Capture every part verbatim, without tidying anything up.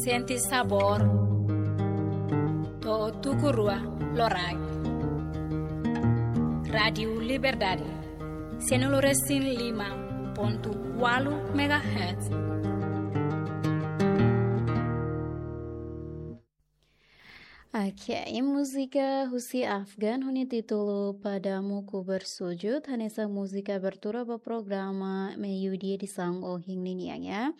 Sente sabór. To'o tuku rua loraik. Rádiu Liberdade. Sianulu-resin-lima pontu ualu megahertz. Oke, i múzika husi Afgan ho nia títulu Padamu Ku Bersujud, hanesan múzika abertura ba programa Meiudia edisaun ohin ninian, ya.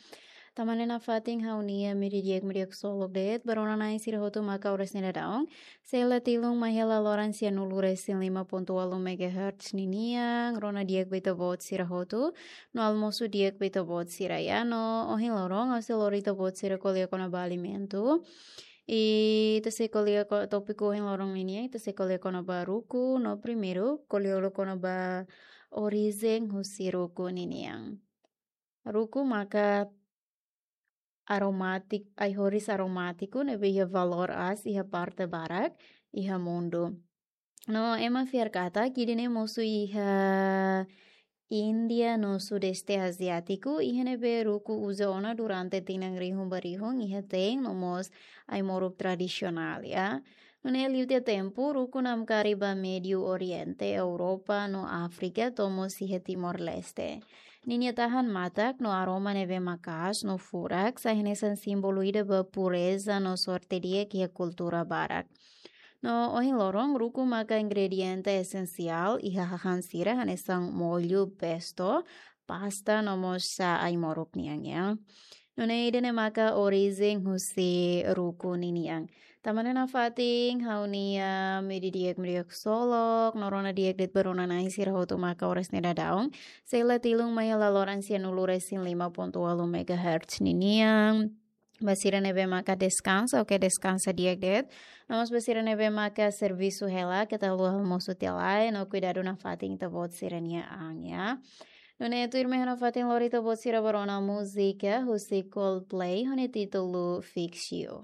Tan ne'e nafatin ha'u-nia media di'ak, media ksolok de'it ba rona-na'in sira hotu maka oras ne'e daudaun. Sei la tilun mai hela loron sianulu-resin-lima pontu ualu megahertz ninian, rona di'ak ba ita-boot sira hotu, no almosu di'ak ba ita-boot sira, ya. No ohin loron, ha'u sei lori ita-boot sira ko'alia kona-ba alimentu. I ita sei ko'alia ko-, tópiku ohin loron ninian, ita sei ko'alia kona-ba ruku, no primeiru, ko'alia kona-ba orijen husi ruku ninian. Ruku maka aromátik-, ai-horis aromátiku ne'ebé iha valór aas iha parte barak iha mundu. No ema fiar katak ida-ne'e mosu iha Índia no Sudeste Aziátiku, iha ne'ebé ruku uza ona durante tinan rihun ba rihun iha teen no mós ai-moruk tradisionál, ya. Nune'e liu tiha tempu, ruku namkari ba Médiu Oriente, Europa no Áfrika, to'o mós iha Timor-Leste. Ninia tahan matak no aroma ne'ebé maka'as no furak, sai hanesan símbolu ida ba pureza no sorte di'ak iha kultura barak. No ohin loron, ruku maka ingrediente esensiál iha hahán sira hanesan mollu, pesto, pasta no mós xá ai-moruk nian, ya. Nune'e ida-ne'e maka orijen husi ruku ninian. Tan ne'e nafatin ha'u-nia media di'ak, media ksolok, no rona di'ak de'it ba rona-na'in sira hotu maka oras ne'e daudaun. Sei la tilun mai hela loron sianulu-resin-lima pontu ualu megahertz ninian. Ba sira ne'ebé maka deskansa, oke, deskansa di'ak de'it. No mós ba sira ne'ebé maka servisu hela, keta haluha almosu tiha lai, no kuidadu nafatin ita-boot sira-nia an, ya. Nune'e tuirmai ha'u nafatin lori ita-boot sira ba rona múzika husi Coldplay, ho nia títulu Fix You.